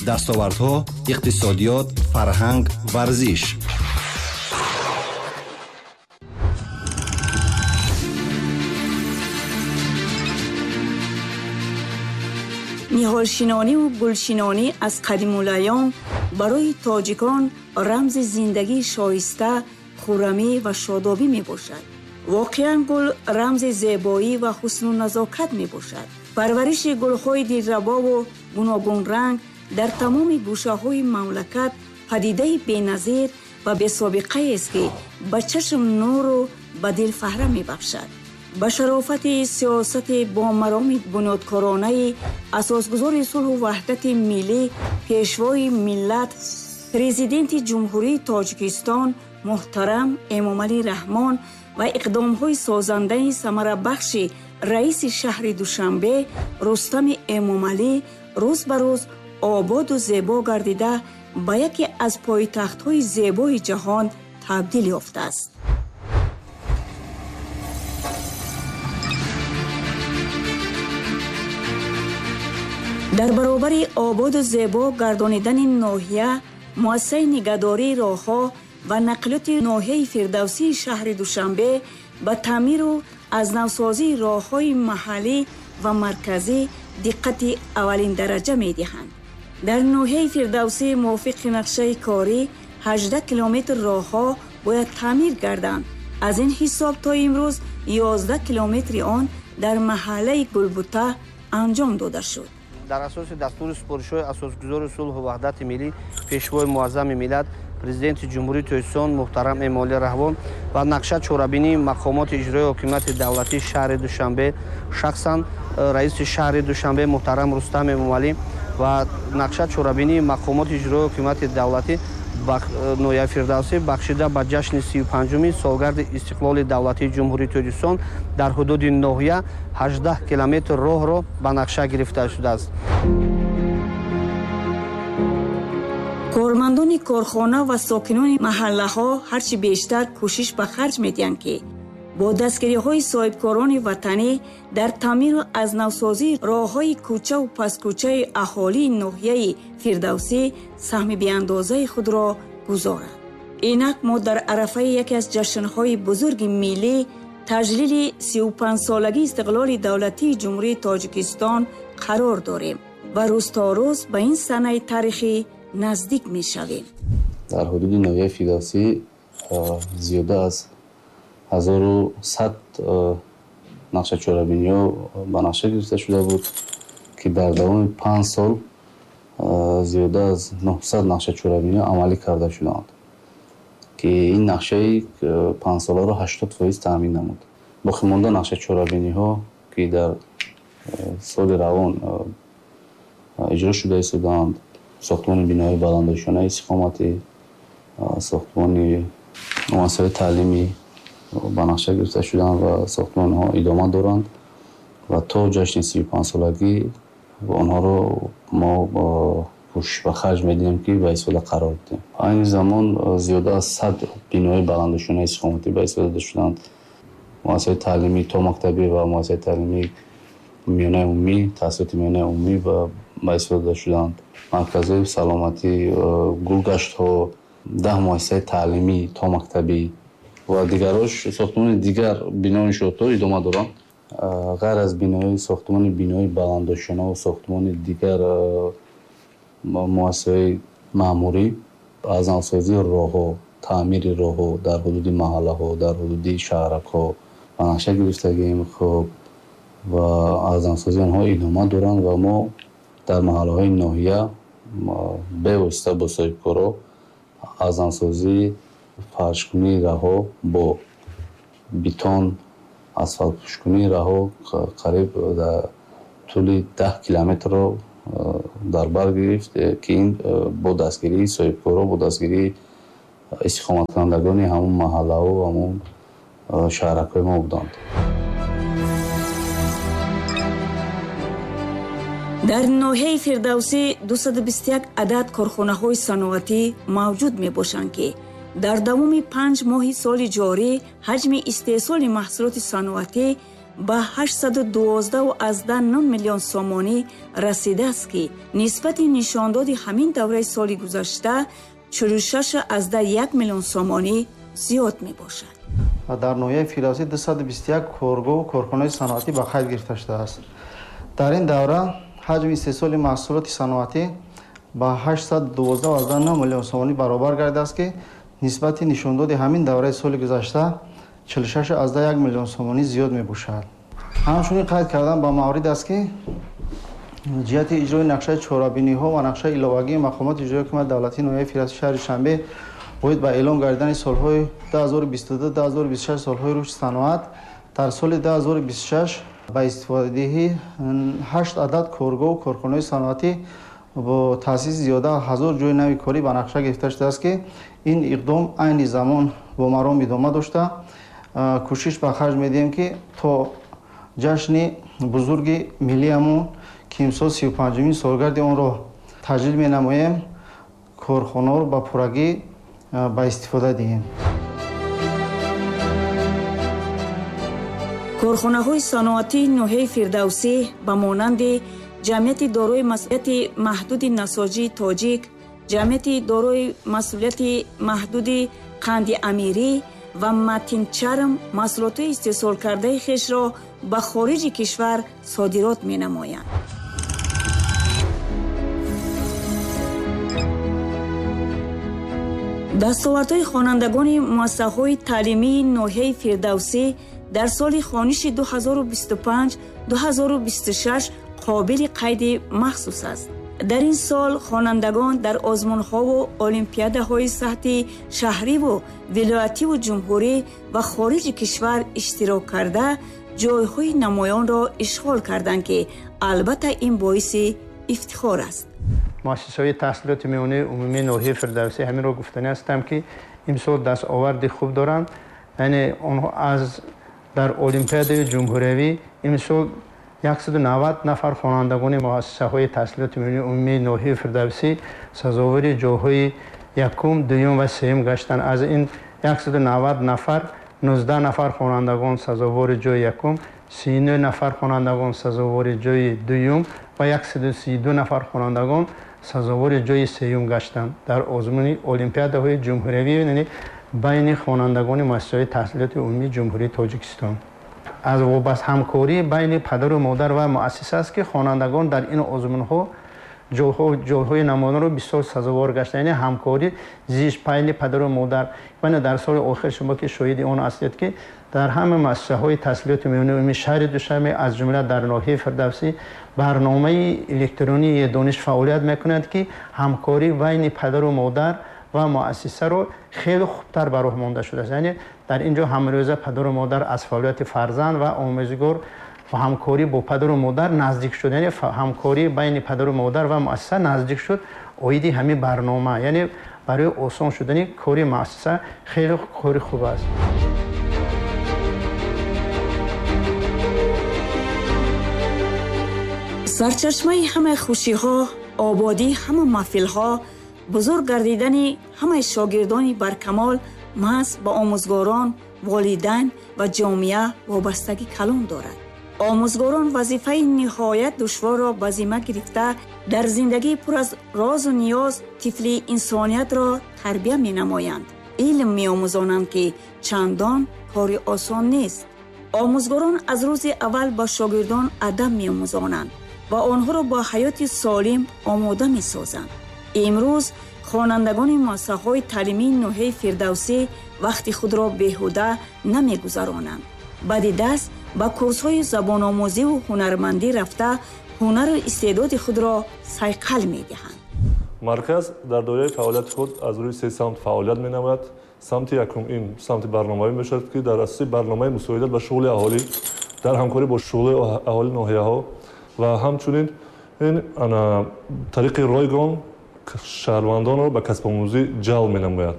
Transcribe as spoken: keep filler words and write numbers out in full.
Дастовардҳо, иқтисодиёт, фарҳанг, варзиш. Ниҳолшинониву гулшинонӣ аз қадимулайём барои тоҷикон рамзи зиндагии шоиста, хуррамӣ ва шодобӣ мебошад. Воқеан гул рамзи зебоӣ ва ҳусну назокат мебошад. Парвариши гулҳои дилрабову гуногунранг дар тамоми гӯшаҳои мамлакат падидаи беназир ва бесобиқаест, ки ба чашм нуру ба дил фаҳра мебахшад. Ба шарофати сиёсати бомароми бунёдкоронаи асосгузори сулҳу ваҳдати миллӣ, пешвои миллат, президенти Ҷумҳурии Тоҷикистон муҳтарам Эмомалӣ Раҳмон ва иқдомҳои созандаи самарабахши раиси шаҳри Душанбе Рустами Эмомалӣ рӯз ба рӯз ободу зебо гардида ба яке аз пойтахтҳои зебои ҷаҳон табдил ёфтааст. Дар баробари ободу зебо гардонидани ноҳия, муассисаи нигаҳдории роҳҳо ва нақлиёти ноҳияи Фирдавсии шаҳри Душанбе ба таъмиру аз навсозии роҳҳои маҳаллӣ ва марказӣ диққати аввалиндараҷа медиҳанд. Дар ноҳияи Фирдавсӣ мувофиқи нақшаи корӣ ҳаждаҳ километр роҳҳо бояд таъмир гарданд. Аз ин ҳисоб то имрӯз ёздаҳ километри он дар маҳаллаи Гулбута анҷом дода шуд. Дар асоси дастури супоришҳои асосгузори сулҳу ваҳдати миллӣ, пешвои муаззами миллат, президенти Ҷумҳурии Тоҷикистон муҳтарам Эмомалӣ Раҳмон ва нақша чорабинии мақомоти иҷроии ҳокимияти давлатии шаҳри Душанбе, шахсан раиси шаҳри Душанбе муҳтарам Рустам Эмомалӣ ва нақша чорабинии мақомоти иҷроии ҳокимияти давлатӣ ноҳияи Фирдавсӣ бахшида ба ҷашни сию панҷуми солгарди истиқлоли давлатии Ҷумҳурии Тоҷикистон дар ҳудуди ноҳия ҳаждаҳ километр роҳро ба нақша гирифта шудааст. Кормандони корхона ва сокинони маҳаллаҳо ҳарчи бештар кӯшиш ба харҷ медиҳанд, ки бо дастгириҳои соҳибкорони ватанӣ дар таъмиру аз навсозии роҳҳои кӯчаву пасткӯчаи аҳолии ноҳияи Фирдавсӣ саҳми беандозаи худро гузоранд. Инак мо дар арафаи яке аз ҷашнҳои бузурги миллӣ, таҷлили сию панҷсолагии истиқлоли давлатии Ҷумҳурии Тоҷикистон қарор дорем ва рӯз то рӯз ба ин санаи таърихӣ наздик мешавем. Дар ҳудуди ноҳияи Фирдавсӣ зиёда аз ҳазору сад нақша чорабиниҳо ба нақша гирифта шуда буд, ки дар давоми панҷ сол зиёда аз нӯҳсад нақша чорабиниҳо амалӣ карда шуданд, ки ин нақшаи панҷсоларо ҳаштод фоиз таъмин намуд. Боқимонда нақша чорабиниҳо, ки дар соли равон иҷро шуда истодаанд, сохтмони биноҳои баландошёнаи истиқоматӣ, сохтмони муассисаҳои таълимӣ ба нақша гирифта шуданд ва сохтмонҳо идома доранд ва то ҷашни сию панҷсолагӣ онҳоро мо кӯшиш ба харҷ медиҳем, ки ба истифода қарор диҳем. Айни замон зиёда аз сад бинои баландошёнаи истиқоматӣ ба истифода дода шуданд. Муассисаҳои таълимӣ томактабӣ ва муассисаи таълимии миёнаи умумӣ, таҳсилоти миёнаи умумӣ ба истифода дода шуданд. Марказҳои саломатӣ, гулгаштҳо, даҳ муассисаи таълимӣ томактабӣ ва дигарош сохтмони дигар бинои иншоотҳо идома доранд. Ғайр аз бинои сохтмони бинои баландошёна ва сохтмони дигар муассисаҳои маъмурӣ, аз навсозии роҳҳо, таъмири роҳҳо дар ҳудуди маҳаллаҳо, дар ҳудуди шаҳракҳо ба нақша гирифтагием. Хуб, ва аз навсозии онҳо идома доранд ва мо дар маҳаллаҳои ноҳия бевосита бо соҳибкоро аз навсозии фаршкунии раҳо бо бетон, асфалтпӯшкунии раҳо қариб дар тӯли даҳ километрро дар бар гирифт, ки ин бо дастгирии соҳибкоро, бо дастгирии истиқоматкунандагони ҳамон маҳаллаҳо ва ҳамон шаҳракҳои мо буданд. Дар ноҳияи Фирдавсӣ дусаду бисту як адад корхонаҳои саноатӣ мавҷуд мебошанд, ки дар давоми панҷ моҳи соли ҷорӣ ҳаҷми истеҳсоли маҳсулоти саноатӣ ба ҳаштсаду дувоздаҳу аздаҳ нӯҳ миллион сомонӣ расидааст, ки нисбати нишондоди ҳамин давраи соли гузашта чилу шашу аздаҳ як миллион сомонӣ зиёд мебошад. Дар ноҳияи Фирдавсӣ дусаду бисту як коргоҳу корхонаи саноатӣ ба қайд гирифта шудааст. Дар ин давра ҳаҷми истеҳсоли маҳсулоти саноатӣ ба ҳаштсаду дувоздаҳу аздаҳ нӯҳ миллион сомонӣ баробар гардидааст, ки нисбати нишондоди ҳамин давраи соли гузашта чилу шашу аздаҳ як миллион сомонӣ зиёд мебошад. Ҳамчунин қайд кардан ба маврид аст, ки ҷиҳати иҷрои нақшаи чорабиниҳо ва нақшаи иловагии мақомоти иҷроии ҳукумати давлатии ноҳияи Фирдавсӣ шаҳри Душанбе оид ба эълон гардидани солҳои ду ҳазору бисту ду ду ҳазору бисту шаш солҳои рушди саноат, дар соли ду ҳазору бисту шаш ба истифодадиҳӣ ҳашт адад коргоҳу корхонаҳои саноатӣ бо таъсиси зиёда ҳазор ҷойи нави корӣ ба нақша гирифта шудааст, ки ин иқдом айни замон бо маром идома дошта, кӯшиш ба харҷ медиҳем, ки то ҷашни бузурги миллиямон, ки имсол сию панҷумин солгарди онро таҷлил менамоем, корхонаҳоро ба пуррагӣ ба истифода диҳем. Корхонаҳои саноатии ноҳияи Фирдавсӣ ба монанди ҷамъияти дорои масъулияти маҳдуди насоҷии тоҷик, ҷамъияти дорои масъулияти маҳдуди қанди амирӣ ва матинчарм маҳсулотҳои истеҳсолкардаи хешро ба хориҷи кишвар содирот менамоянд. Дастовардҳои хонандагони муассисаҳои таълимии ноҳияи Фирдавсӣ дар соли хониши ду ҳазору бисту панҷ ду ҳазору бисту шаш қобили қайди махсус аст. Дар ин сол хонандагон дар озмунҳову олимпиадаҳои сатҳи шаҳриву вилоятиву ҷумҳурӣ ва хориҷи кишвар иштирок карда, ҷойҳои намоёнро ишғол карданд, ки албатта ин боиси ифтихор аст. Муассисаҳои таҳсилоти миёнаи умумии ноҳияи Фирдавсӣ ҳаминро гуфтанӣ ҳастам, ки имсол дастоварди хуб доранд. Яъне онҳо аз дар олимпиадаи ҷумҳуриявӣ имсол яксаду навад нафар хонандагони муассисаҳои таҳсилоти миёнаи умумии ноҳияи Фирдавсӣ сазовори ҷойҳои якум, дуюм ва сеюм гаштанд. Аз ин яксаду навад нафар нуздаҳ нафар хонандагон сазовори ҷойи якум, сию нӯҳ нафар хонандагон сазовори ҷойи дуюм ва яксаду сию ду нафар хонандагон сазовори ҷойи сеюм гаштанд дар озмуни олимпиадаҳои ҷумҳуриявӣ, яъне байни хонандагони муассисаҳои таҳсилоти умумии Ҷумҳурии Тоҷикистон. Аз вобаст ҳамкорӣ байни падару модар ва муассиса аст, ки хонандагон дар ин озмунҳо ҷойҳои намоёнро бисёр сазовор гаштанд. Яъне ҳамкорӣ зиш байни падару модар. Яъне дар соли охир шумо ки шоҳиди он ҳастед, ки дар ҳама муассисаҳои таҳсилоти миёнаи умумии шаҳри Душанбе, аз ҷумла дар ноҳияи Фирдавсӣ, барномаи электронии дониш фаъолият мекунад, ки ҳамкорӣ байни падару модар ва муассисаро хеле хубтар ба роҳ монда шудааст. Яъне дар ин ҷо ҳамрӯза падару модар аз фаъолияти фарзанд ва омӯзгор ва ҳамкорӣ бо падару модар наздик шуд. Яъне ҳамкорӣ байни падару модар ва муассиса наздик шуд оиди ҳамин барнома. Яъне барои осон шудани кори муассиса хеле кори хуб аст. Сарчашмаи ҳамаи хушиҳо, ободии ҳама маҳфилҳо, бузург гардидани ҳамаи шогирдони баркамол маҳз ба омӯзгорон, волидайн ва ҷомеа вобастагӣ калон дорад. Омӯзгорон вазифаи ниҳоят душворро ба зимма гирифта, дар зиндагии пур аз розу ниёз тифли инсониятро тарбия менамоянд. Илм меомӯзонанд, ки чандон кори осон нест. Омӯзгорон аз рӯзи аввал ба шогирдон адаб меомӯзонанд ва онҳоро ба ҳаёти солим омода месозанд. Имрӯз хонандагони муассисаҳои таълимии ноҳияи Фирдавсӣ вақти худро беҳуда намегузаронанд. Баъди даст ба курсҳои забономӯзиву ҳунармандӣ рафта, ҳунару истеъдоди худро сайқал медиҳанд. Марказ дар доираи фаъолияти худ аз рӯи се самт фаъолият менамояд. Самти якум ин самти барномавӣ мешавад, ки дар асоси барномаи мусоидат ба шуғли аҳолӣ дар ҳамкорӣ бо шуғли аҳоли ноҳияҳо ва ҳамчунин ин тариқи ройгон шаҳрвандонро ба касбомӯзӣ ҷалб менамояд.